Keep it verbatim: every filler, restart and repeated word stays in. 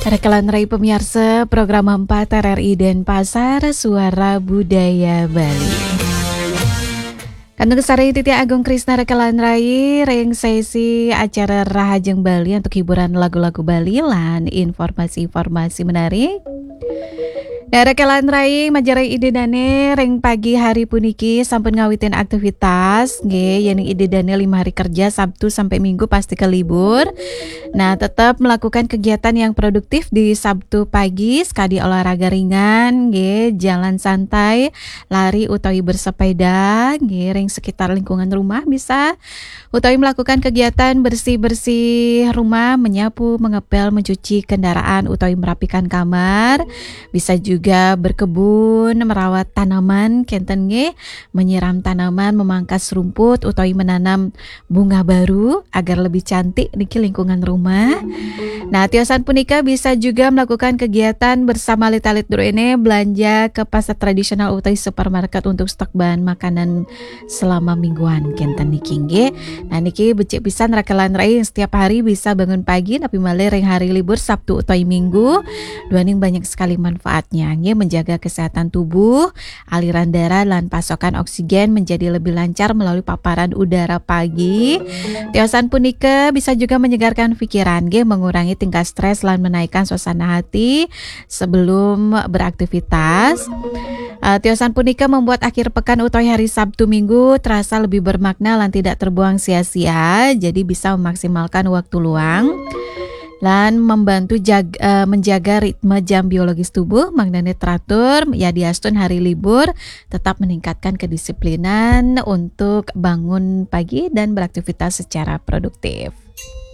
Rekelan Rai pemirsa, program empat R R I Denpasar, Suara Budaya Bali. Kandung Sari Titi Agung Krisna Rekelan Rai, ring sesi acara Rahajeng Bali untuk hiburan lagu-lagu Bali lan informasi-informasi menarik. Nah, Rekelan Rai, majarai Ida Dane ring pagi hari puniki sampun ngawitin aktivitas, nggih, yening Ida Dane lima hari kerja, Sabtu sampai Minggu pasti ke libur. Nah, tetap melakukan kegiatan yang produktif di Sabtu pagi, sekadi olahraga ringan, nggih, jalan santai, lari utawi bersepeda, nggih, ring sekitar lingkungan rumah bisa, utawi melakukan kegiatan bersih-bersih rumah, menyapu, mengepel, mencuci kendaraan, utawi merapikan kamar. Bisa juga berkebun, merawat tanaman, kenten nggih, menyiram tanaman, memangkas rumput, utawi menanam bunga baru agar lebih cantik niki lingkungan rumah. Nah, tiosan punika bisa juga melakukan kegiatan bersama alit-alit druene, belanja ke pasar tradisional utawi supermarket untuk stok bahan makanan selama mingguan kenten niki nggih. Nah, niki becik pisan Rekelan Rai yang setiap hari bisa bangun pagi, napi malih ring hari libur Sabtu utawi Minggu. Duaning banyak sekali manfaatnya nggih, menjaga kesehatan tubuh, aliran darah lan pasokan oksigen menjadi lebih lancar melalui paparan udara pagi. Tiosan punika bisa juga menyegarkan pikiran nggih, mengurangi tingkat stres lan menaikkan suasana hati sebelum beraktivitas. Uh, tiosan punika membuat akhir pekan utawi hari Sabtu Minggu terasa lebih bermakna lan tidak terbuang sia-sia, jadi bisa memaksimalkan waktu luang lan membantu jag- uh, menjaga ritme jam biologis tubuh, mangdane teratur, ya diastun hari libur, tetap meningkatkan kedisiplinan untuk bangun pagi dan beraktivitas secara produktif.